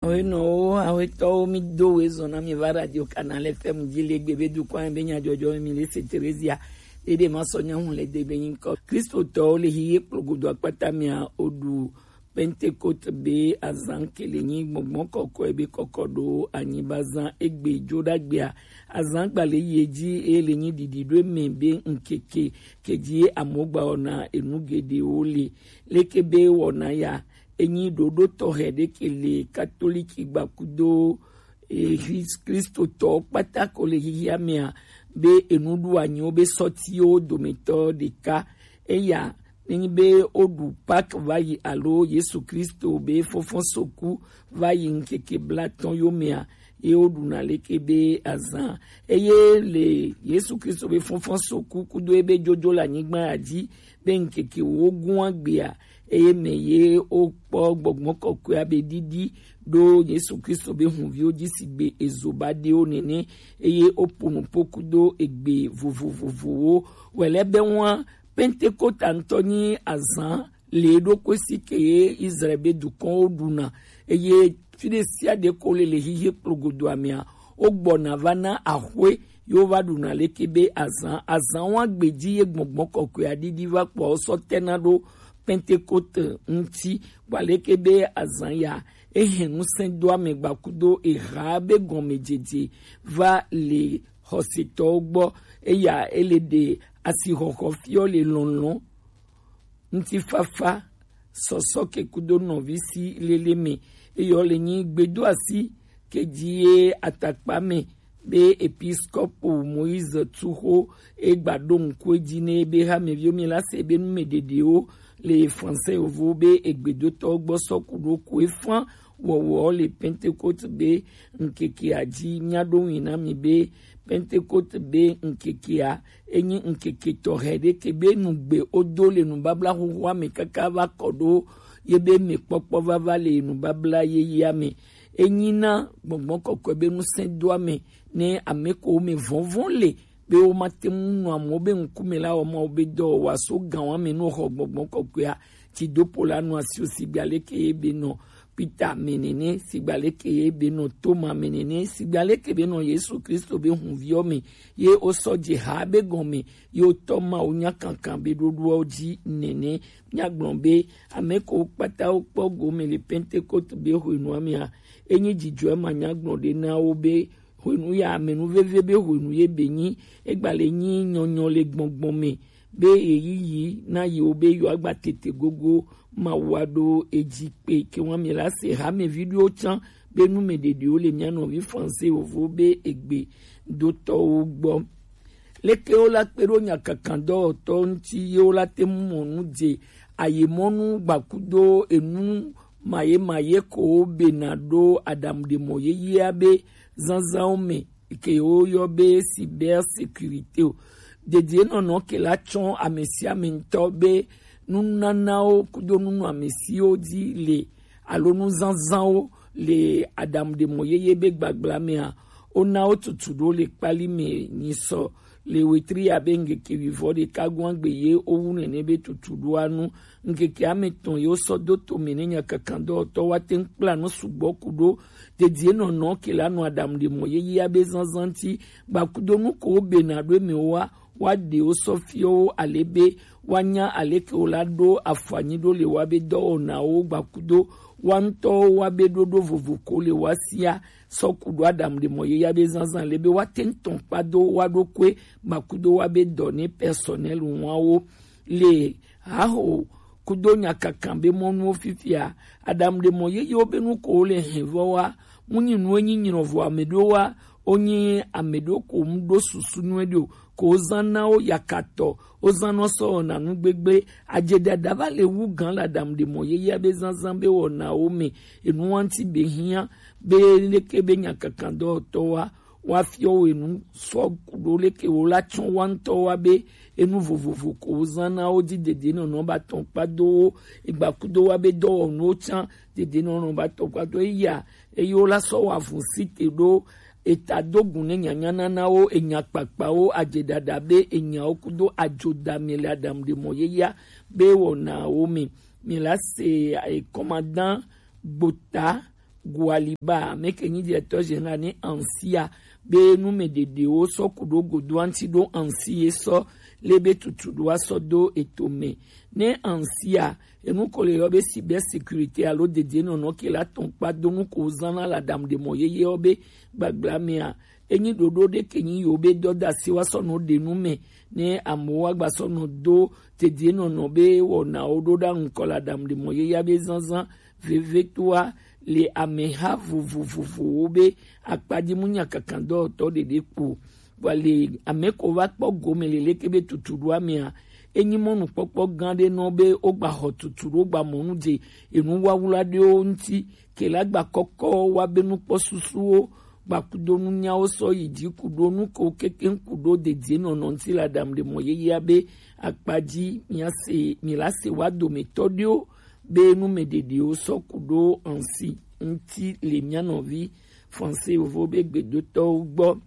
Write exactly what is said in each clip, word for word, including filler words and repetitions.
Oyenɔwo, awetɔwo, mi do we zɔn na mi va Radio Canal F M ji le gbe be dukɔn be nyajɔjɔ mi le se Teresia. Dede ma sɔ nyahun le de be nyi kɔ. Kristotɔwo le hiye kplogodo akpata mia odu Pentecote be azan kele nyi gbɔngbɔn kɔkɔe be kɔkɔ do anyi ba zan egbe jo dagbea. Azan gbale ye ji e le nyi didi do me be nkeke keji amogba ona enu gedewo le. Leke be wɔna ya, enyi ɖoɖo tɔxɛ ɖe ke le katoliki gbakudo e, Kris- Kristotɔwo kpata ko le xixia mea be enuɖuanyiwo be sɔtiwo dometɔ ɖeka. Eya nenyi be woɖu Pâques va yi alo Yesu Kristo be fɔfɔsoku va yi ŋkeke blatɔn yo mea, ye woɖuna leke be azan. Eye le Yesu Kristo be fɔfɔsoku kudo ebe jojo le anyigba ya ji be ŋkeke wo gún agbea, eye mɛ ye wokpɔ gbɔgbɔ kɔkɔea be didi ɖo Yesu Kristo be hunviwo ji sigbe ezo ba ɖewo nɛnɛ, eye wopo nupo kudo egbe vovovovowo. Wɛlɛ be ŋua Pentekota ŋutɔ nyi azan le ɖokui si ke ye Israel be dukɔnwo ɖuna, eye fi ɖe sia ɖe ko le le xixi kplogodoa mea, wogbɔna va na axwe ye wova ɖuna leke be azan azan wa gbeji ye gbɔngbɔn kɔkɔe aɖiɖi va kpɔ sɔ tɛna ɖo Pentekote ŋuti. Kpɔ aleke be azan ya ehɛn ŋusẽ do ame gbakudo eha be gɔmejeje va le xɔsetɔwo gbɔ. Eya ele ɖe asixɔxɔ fiɔ le lɔlɔ̃ ŋutifafa sɔsɔ ke kudo nɔvi si lele me. Eyɔ le nyi gbedo asi ke ji ye atakpa me be episkopo Moïse Tuxo e gba ɖo ŋku edzi ne be hamevio mi la se be nu me ɖeɖewo le français yovo be egbedotɔ gbɔ sɔ ku ɖo ku efan wɔwɔ le Pentecote be ŋkekea dzi. Mia ɖo ŋui na mi be Pentecote be ŋkekea enyi ŋkeke tɔxɛ ɖe ke be nugbe wodo le nubabla xoxoa me kaka va kɔ ɖo ye be mekpɔkpɔ vava le nubabla yeyea me. Enyi na gbɔngbɔn kɔkɔe be ŋusẽ do ame ne ame ko me vɔnvɔn le be womate ŋu nɔ amewo be ŋkume la wɔ Mawu be dɔ wòaso gã wa me ne woxɔ gbɔngbɔn kɔkɔea. Tsidopo la nɔ asi o sigbe aleke ye be nɔ Peter me nene, sigbe aleke ye be nɔ Toma me nene, sigbe aleke be nɔ Yesu Kristo be hunviɔ me, ye wosɔ dze ha be gɔme, ye wotɔ Mawu nya kankan be ɖoɖoawo dzi nene. Míagblɔ be ame ko kpata wokpɔ gome le Pentecote be hwenua mea, enyi dzidzɔe manyagblɔ ɖe na wo be hwenu ya amenuveve be hwenu ye be nyi, egba le nyi nyɔnyɔ le gbɔngbɔn me be ɣeyiɣi na yewo be yewoagba tete gogo Mawu aɖo edzi kpe. Ke ŋua mi la se hamevi ɖewo tsã be nu me ɖeɖewo le mía nɔvi français vovo be egbe dotɔwo gbɔ. Leke wo la kpe ɖo nyakakan dɔwɔtɔ ŋuti ye wo la te ŋu mɔ nu dze ayemɔnu gbakudo enu maye maye ko wo bena ɖo aɖaŋuɖemɔ yeyea be zazãwo me ke woyɔ be cyber sécurité o. Dedienɔnɔ ke la tsɔ ame sia ame ŋutɔ be nunanawo kudo nunɔamesiwo dzi le alo nuzazãwo le aɖaŋuɖemɔ yeye be gbagbla mea, wona wo tutu ɖo le kpali me nyisɔ le wetri abe ŋkeke wuivɔ ɖeka gɔ̃a gbe ye wowu nene be tutu ɖoa nu. Ŋkeke ame tɔn ye wosɔ do to me ne nyakakan dɔwɔtɔ wa te ŋu kpla nu sugbɔ ku ɖo dedienɔnɔ ke la nɔ aɖaŋuɖemɔ yeyea be zazã ŋuti, gbakudo nu ko wo bena ɖo eme wa, wa ɖe wo sɔ fiɔ wo ale be wa nya aleke wo la ɖo afɔ anyi ɖo le wa be dɔwɔnawo gbakudo wa ŋutɔwo wa be ɖoɖo vovo ko le wa sia sɔ ku ɖo aɖaŋuɖemɔ yeyea be zazã le be wa te ŋu tɔn kpa do wa ɖokui gbakudo wa be dɔ ne personnel wawo le haho kudo nyakakan be mɔnuwo fifia. Aɖaŋuɖemɔ yeyewo be nu ko wo le hɛn vɔ wa, mu nyi nu enyi nyrɔ vɔ ame ɖewo wa, wonyi ame ɖewo ko mu ɖo susu nyuie ɖe o, ko wozã na wo yakatɔ, wozã nɔ sɔ wɔna nu gbegble. Adze ɖaɖa va le wu gã le aɖaŋuɖemɔ yeyea be zazã be wɔnawo me, enu wa ŋuti be hiã be leke be nyakakan dɔwɔtɔ wa wa fiɔ wo enu sɔ ku ɖo leke wo la tsɔ wa ŋutɔ wa be enu vovovo ko wo zã na wo dzi dedienɔnɔ ba tɔn kpa do wo egbakudo wa be dɔwɔnuwo tsã dedienɔnɔ ba tɔn kpa do eya eye wo la sɔ wa vun si te ɖo eta do gun ne nyanya nana wo enya kpakpawo adze ɖaɖa be enyawo kudo adzo da mi le aɖaŋuɖemɔ yeyea be wɔnawo me. Mi la se ekɔmadan gbota Gualiba, meke nyi directeur général ne ansia be nu me ɖeɖewo sɔ ku ɖo godo anti ɖo ansi ye sɔ le be tutu ɖo asɔ do eto me. Ne ansia enu ko le yɔ be cyber sécurité alo dede nɔnɔ ke la tɔn kpa do nu ko zan na la dam de mɔ yeye ɔ be gbagba mea, enyi ɖoɖo ɖe ke nyi yo be dɔ da si wa sɔ nɔ ɖe nu me. Ne amewo wa gba sɔ nɔ do dede nɔnɔ be wɔnawo ɖo ɖa ŋkɔ la dam de mɔ yeye be zanzan vevetoa le ameha vovovovowo be akpaji mu nya kankan dɔwɔtɔ ɖeɖe kpo. Vɔ le ame ko va kpɔ gome le leke be tutu ɖo amea, enyi mɔnukpɔkpɔ gã ɖe nɔ be wogba xɔ tutu ɖo gba mɔnu dze enu wawla ɖewo ŋuti ke la gba kɔkɔ wa be nukpɔ susuwo gba kudo nunyawo sɔ yi dzi kudo nuko keke kudo dedie nɔnɔ ŋuti la dam ɖe mɔ yeyea be akpaji mia se mi la se wa dometɔ ɖewo be nu me ɖeɖewo sɔ ku ɖo ansi ŋuti le mia nɔvi français yovo be gbedotɔwo gbɔ.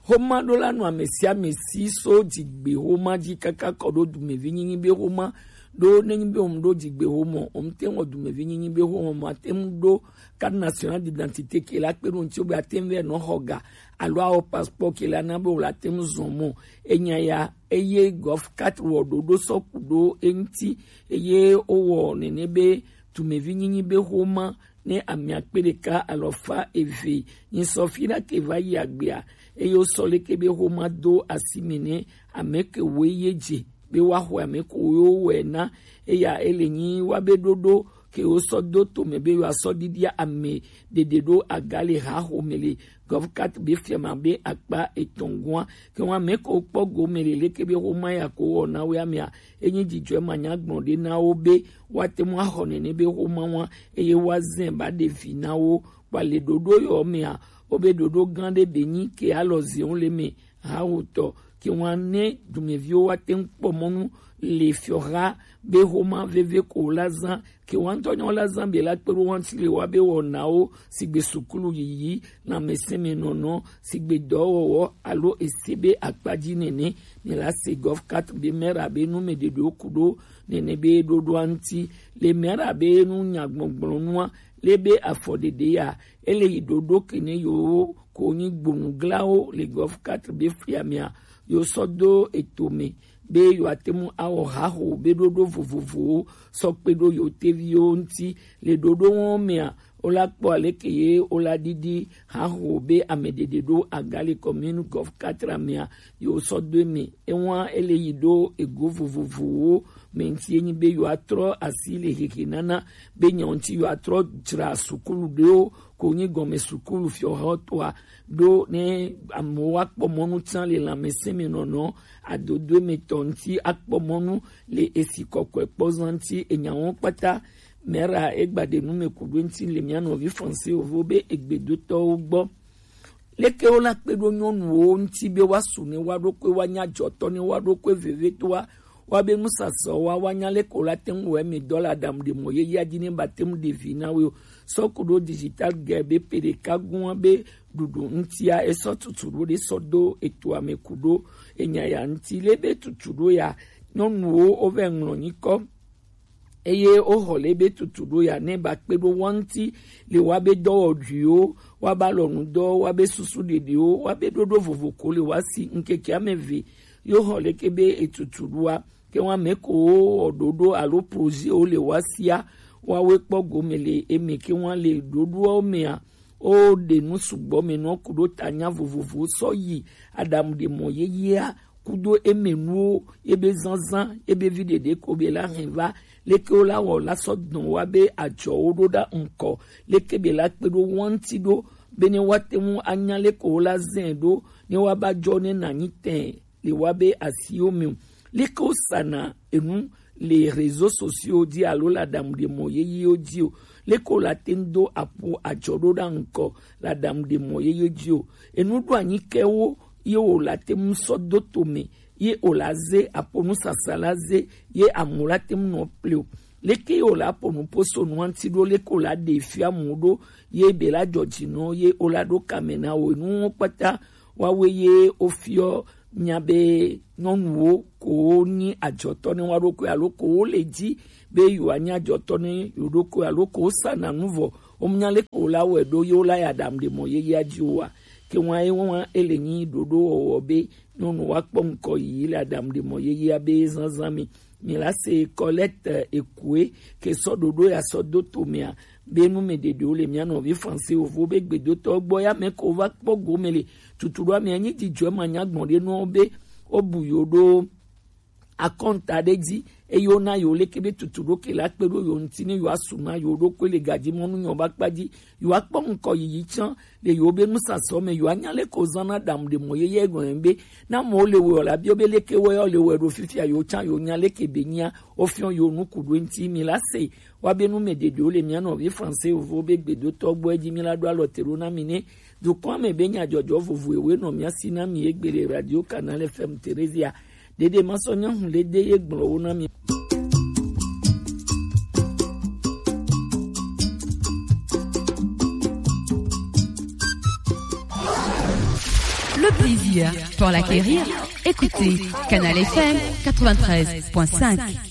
Xoma ɖo la nɔ ame sia ame si so dzigbe xoma dzi kaka kɔ ɖo dumevi nyinyi be xoma ɖo ne nyi be wɔm ɖo dzigbe xoma wɔm te wɔ dumevi nyinyi be xoma ma te ŋu ɖo carte nationale d'identité ke la kpe ɖo ŋuti wo be ate ŋu vɛ nɔ xɔ ga alo awɔ passeport ke la na be wo la te ŋu zɔn mɔ. Enya ya eye gov quatre wɔ ɖoɖo sɔ ku ɖo eŋuti eye wowɔ nene be dumevi nyinyi be xoma ne ame akpe ɖeka alɔfa eve nyi sɔ fi ɖa ke va yi agbea eye wosɔ leke be xoma do asi me ne ame ke woe ye dze be woaxɔ ame ko wo wɔe na eya ele nyi wa be ɖoɖo ke wosɔ do tome be yewoasɔ ɖiɖia ame ɖeɖe ɖo aga le haxome le gov quatre be fiama be akpa etɔ̃ gɔ̃a ke ŋu ame ko kpɔ gome le leke be xoma ya ko wɔ na wo amea enyi dzidzɔe manya gblɔ ɖe na wo be woate ŋu axɔ nene be xoma wa eye woazɛ ba ɖe vi na wo kpa le ɖoɖo yɔ mea wo be ɖoɖo gã ɖe be nyi ke alɔ zewo le me hawotɔ ke ŋu ne dumeviwo woate ŋu kpɔ mɔnu le fiɔha be xoma veve ko la zã ke wa ŋutɔ nyawo la zã be la kpe ɖo wa ŋuti le wa be wɔnawo sigbe sukulu yiyi lãmesẽmenɔnɔ sigbe dɔwɔwɔ alo ese be akpadzi nene. Ne la se gov quatre be mera be nu me ɖeɖewo ku ɖo nene be ɖoɖoa ŋuti le mera be nu nyagbɔgblɔ nua le be afɔ ɖeɖe ya ele yi ɖoɖo ke ne yewo ko nyi gbonuglawo le gov quatre be fiamea yewo sɔ do eto me be yewoate ŋu awɔ haxo be ɖoɖo vovovowo sɔ kpe ɖo yewo teviwo ŋuti le ɖoɖo wɔn mea wola kpɔ aleke ye wola ɖiɖi haxo be ame ɖeɖe ɖo aga le commune gov quatre mea yewo sɔ do eme ewa ele yi ɖo ego vovovowo me ŋuti enyi be yewoatrɔ asi le hehe nana be nya ŋuti yewoatrɔ dzra sukulu ɖewo ko nyi gɔme sukulu fiɔhɔtɔa ɖo ne amewo akpɔ mɔnu tsã le lãmesẽmenɔnɔ adodo emetɔ ŋuti akpɔ mɔnu le esi kɔkɔe kpɔ zã ŋuti enyawo kpata mera egba ɖe nu me ku ɖo ŋuti le mia nɔvi français wovo be egbedotɔwo gbɔ. Leke wo la kpe ɖo nyɔnuwo ŋuti be woasu ne woa ɖokui woanya dzɔtɔ ne woa ɖokui vevetoa woa be nusasɔ wa woanya leke wo la te ŋu wɔ eme dɔ le aɖaŋu ɖe mɔ yeyea dzi ne ba te ŋu ɖe vi na wo o. Sɔ ku ɖo digital ge be pe ɖeka gua be ɖuɖu ŋutia esɔ tutu ɖo ɖe sɔ do etoa me ku ɖo enya ya ŋuti le be tutu ɖo ya nyɔnuwo wovɛ ŋlɔ nyikɔ eye woxɔ le be tutu ɖo ya ne ba kpe ɖo wa ŋuti le wa be dɔwɔɖuiwo wa ba lɔnu dɔ wa be susu ɖeɖewo wa be ɖoɖo vovo ko le wa si ŋkeke ame ve yo xɔ leke be etutu ɖoa ke wa me ko wɔ ɖoɖo alo projet wo le wa sia wa we kpɔ gome le eme ke wa le ɖoɖoawo mea wo ɖe nu sugbɔ me nɔ ku ɖo ta nya vovovo sɔ yi aɖaŋu ɖe mɔ yeyea kudo eme nuwo ebe zanzan ebe vi ɖeɖe ko be la hɛn va leke wo la wɔ la sɔ dɔn wa be adzɔwo ɖo ɖa ŋkɔ leke be la kpe ɖo wa ŋuti ɖo be ne wa te ŋu anya leke wo la zɛ ɖo ne wa ba dzɔ ne na nyi tɛ le wa be asiwo me o. Leke wo sana enu le réseaux sociaux dzi alo le aɖaŋu ɖe mɔ yeyewo dzi o. Leke wo la te ŋu do aƒo adzɔ ɖo ɖa ŋkɔ le aɖaŋu ɖe mɔ yeyewo dzi o. Enu ɖo anyi ke wo ye wo la te ŋu sɔ do to me ye wo la ze aƒo nusasa la ze ye amu la te ŋu nɔ ple o. Leke ye wo la ƒo nu ƒo so nua ŋuti ɖo leke wo la ɖe fia mu ɖo ye be la dzɔ dzi nɔ ye wo la ɖo kame na wo nuwo kpata woawoe ye wofiɔ nya be nyɔnuwo ko wonyi adzɔtɔ ne woa ɖokui alo ko wole dzi be yewoanyi adzɔtɔ ne yewo ɖokui alo ko wosana nu vɔ Wo mnya leke wo la wɔe ɖo ye wo la ya ɖam ɖe mɔ yeyea dzi oa? Ke ŋua ye ŋua ele nyi ɖoɖo wɔwɔ be nyɔnu woakpɔ ŋkɔ yiyi le aɖaŋuɖemɔ yeyea be zazã me. Mi la se Colette Ekue ke sɔ ɖoɖo ya sɔ do to mea be nu me ɖeɖewo le mia nɔvi Français wovo be gbedotɔ gbɔ ya me ko va kpɔ gome le tutu ɖo amea nyi dzidzɔ ma nya gbɔn ɖe nɔ be wo bu yo ɖo akɔnta ɖe dzi eye wona yo leke be tutu ɖo ke la kpe ɖo yo ŋuti ne yo asu na yo ɖokui le gadzi mɔnu nyɔ ba kpa dzi yo akpɔ ŋkɔ yiyi tsã le yo be nusasɔ me yo anya leke wo zã na ɖaŋu ɖe mɔ yeye gɔn be na mɔ le wɔ la bio be leke wɔ yo le wɔ ɖo fifia yo tsã yo nya leke be nyia wo fiɔ yo nuku ɖo ŋuti mi la se wa be nu me ɖeɖewo le mia nɔvi Français wovo be gbedotɔ gbɔ edzi mi la ɖo alɔ te ɖo na mi ne dukɔa me be nyadzɔdzɔ vovo ewe nɔ mia si na mi egbe le Radio Canal F M Theresia. Ɖeɖe ma sɔ nya hu le de ye gblɔ wo na mi. Le plaisir pour l'acquérir. Écoutez Canal F M quatre-vingt-treize point cinq.